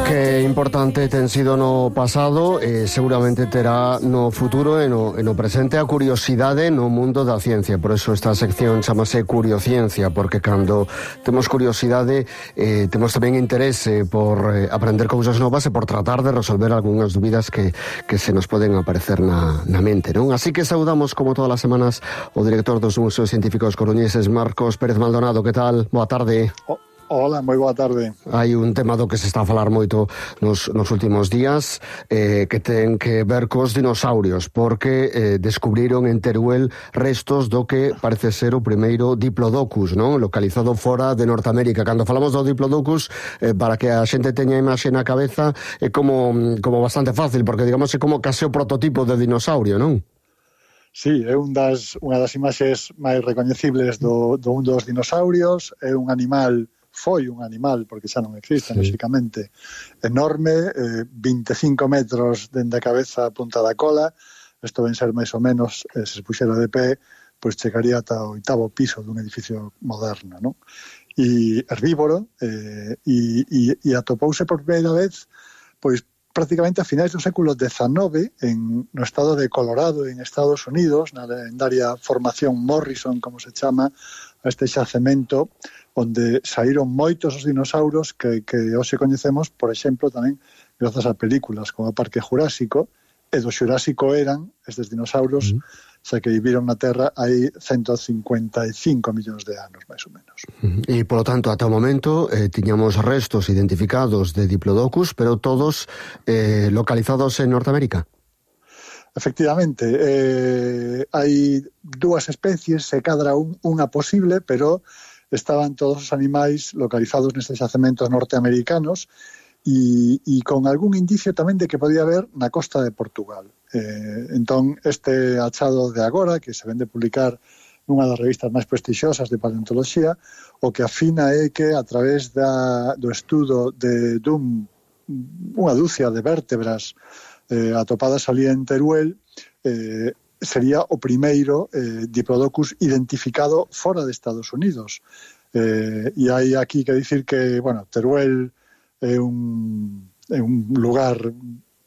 Que importante ten sido no pasado e seguramente terá no futuro e no presente a curiosidade no mundo da ciencia. Por eso esta sección chamase Curiociencia, porque cando temos curiosidade temos tamén interese por aprender cousas novas e por tratar de resolver algunhas dúbidas que se nos poden aparecer na mente, non? Así que saudamos como todas as semanas o director dos Museos Científicos Coruñeses, Marcos Pérez Maldonado. Que tal? Boa tarde. Hola, moi boa tarde. Hai un tema do que se está a falar moito nos últimos días que ten que ver cos dinosaurios, porque descubriron en Teruel restos do que parece ser o primeiro Diplodocus, non? Localizado fora de Norteamérica. Cando falamos do Diplodocus, para que a xente teña a imaxe na cabeza, é como bastante fácil, porque digamos é como case o prototipo de dinosaurio, non? Sí, é unha das imaxes máis recoñecibles do un dos dinosaurios. É un animal, foi un animal, porque xa non existe, lóxicamente, enorme, 25 metros dende a cabeza a punta da cola. Isto ven ser máis ou menos, se se puxera de pé, pois chegaría ata o 8º piso dun edificio moderno, non? E herbívoro, e atopouse por primeira vez, pois prácticamente a finais do século XIX no estado de Colorado, en Estados Unidos, na lendaria formación Morrison, como se chama, a este xacemento onde saíron moitos os dinosauros que hoxe coñecemos, por exemplo, tamén grazas a películas como o Parque Jurásico, e do Xurásico eran estes dinosauros, xa que viviron na Terra hai 155 millóns de anos, máis ou menos. E, polo tanto, ata o momento tiñamos restos identificados de Diplodocus, pero todos localizados en Norteamérica. Efectivamente, hai dúas especies, se cadra unha posible, pero estaban todos os animais localizados nestes xacementos norteamericanos e con algún indicio tamén de que podía haber na costa de Portugal. Entón, este achado de agora, que se vende publicar nunha das revistas máis prestixiosas de paleontoloxía, o que afina é que a través do estudo dunha dúcia de vértebras atopadas ali en Teruel, sería o primeiro Diplodocus identificado fora de Estados Unidos. E hai aquí que dicir que, bueno, Teruel é un lugar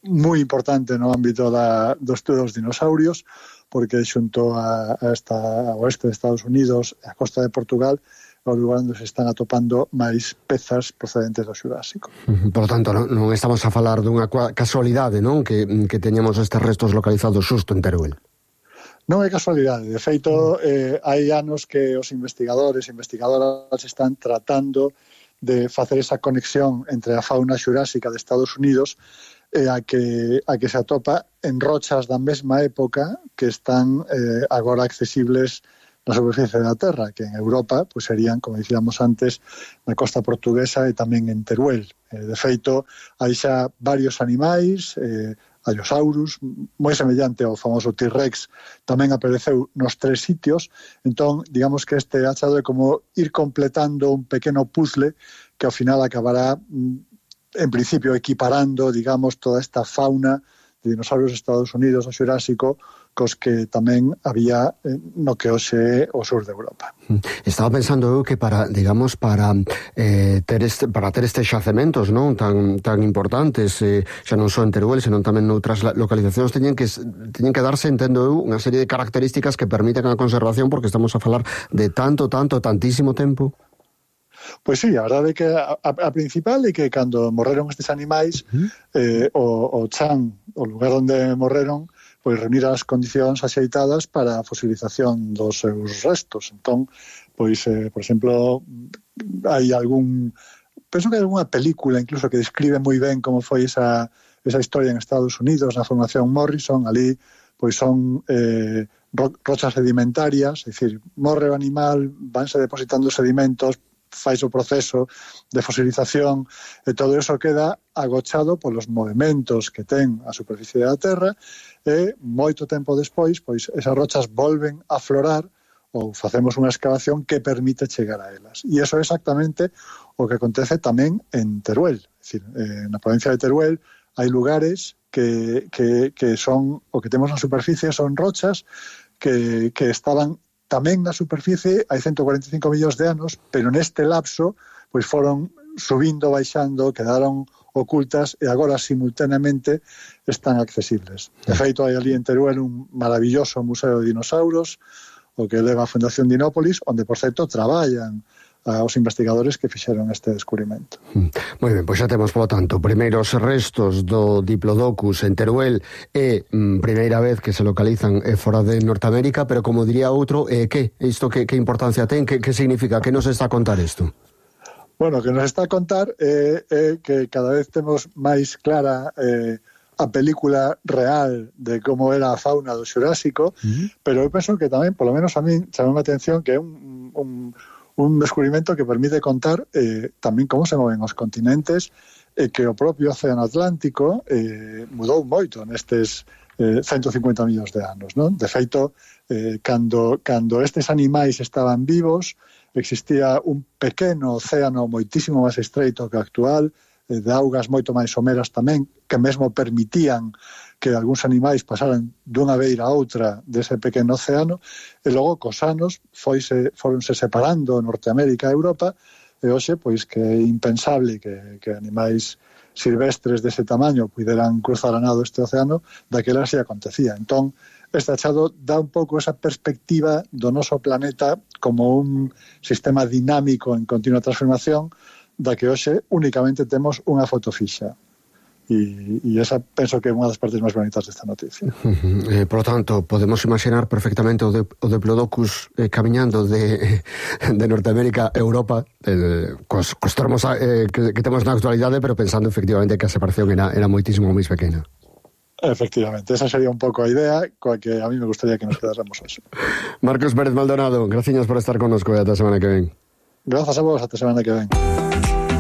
moi importante no ámbito do estudo dos dinosaurios, porque xunto ao oeste de Estados Unidos e a costa de Portugal é o lugar onde se están atopando máis pezas procedentes do Xurásico. Por lo tanto, non estamos a falar dunha casualidade, non? Que teñamos estes restos localizados xusto en Teruel. Non é casualidade. De feito, hai anos que os investigadores e investigadoras están tratando de facer esa conexión entre a fauna xurásica de Estados Unidos e a que se atopa en rochas da mesma época que están agora accesibles na superficie da Terra, que en Europa pues serían, como dicíamos antes, na costa portuguesa e tamén en Teruel. De feito, hai xa varios animais, Allosaurus, moi semellante ao famoso T-Rex, tamén apareceu nos 3 sitios. Entón, digamos que este achado é como ir completando un pequeno puzzle que ao final acabará, en principio, equiparando, digamos, toda esta fauna de dinosaurios de Estados Unidos, o Xurásico, cos que tamén había no que hoxe é o sur de Europa. Estaba pensando eu que para ter estes xacementos, non, tan importantes, xa non só en Teruel, senón tamén noutras localizacións, teñen que darse, entendo eu, unha serie de características que permiten a conservación, porque estamos a falar de tantísimo tempo. Pois sí, a verdade é que a principal é que cando morreron estes animais, o chan, o lugar onde morreron, pois reunir as condicións axeitadas para a fosilización dos seus restos. Entón, pois, por exemplo, hai penso que hai algunha película incluso que describe moi ben como foi esa historia en Estados Unidos, na formación Morrison. Ali, pois son rochas sedimentarias, é dicir, morre o animal, vanse depositando sedimentos, fais o proceso de fosilización e todo eso queda agochado polos movementos que ten a superficie da Terra e moito tempo despois, pois esas rochas volven a florar ou facemos unha excavación que permite chegar a elas. E iso é exactamente o que acontece tamén en Teruel. É dicir, na provincia de Teruel hai lugares que son, o que temos na superficie son rochas que estaban tamén na superficie hai 145 millóns de anos, pero neste lapso pois foron subindo, baixando, quedaron ocultas e agora simultaneamente están accesibles. De feito, hai ali en Teruel un maravilloso museo de dinosauros, o que leva a Fundación Dinópolis, onde, por certo, traballan aos investigadores que fixeron este descubrimento. Moi ben, pois xa temos, polo tanto, primeiros restos do Diplodocus en Teruel e primeira vez que se localizan fora de Norteamérica, pero como diría outro, que importancia ten, que significa, que nos está a contar isto? Bueno, o que nos está a contar é que cada vez temos máis clara a película real de como era a fauna do Xurásico, pero eu penso que tamén, polo menos a min, chamou a atención que é un descubrimento que permite contar tamén como se moven os continentes e que o propio Océano Atlántico mudou moito nestes 150 millóns de anos, non? De feito, cando estes animais estaban vivos, existía un pequeno océano moitísimo máis estreito que o actual, de augas moito máis someras tamén, que mesmo permitían que algúns animais pasaran dunha beira a outra dese pequeno océano, e logo cos anos foronse separando Norteamérica e Europa, e hoxe, pois, que é impensable que animais silvestres dese tamaño puderan cruzar a nado este océano, daquela se acontecía. Entón, este achado dá un pouco esa perspectiva do noso planeta como un sistema dinámico en continua transformación, da que hoxe únicamente temos unha foto fixa. E esa penso que é unha das partes máis bonitas desta noticia. Por lo tanto, podemos imaginar perfectamente o Diplodocus camiñando de Norteamérica a Europa, cos termos que temos na actualidade, pero pensando efectivamente que a separación era moitísimo máis pequena. Efectivamente, esa sería un pouco a idea coa que a mí me gustaría que nos quedáramos hoxe. Marcos Pérez Maldonado, graciñas por estar connosco e ata a semana que ven. Grazas a vos, ata a semana que ven.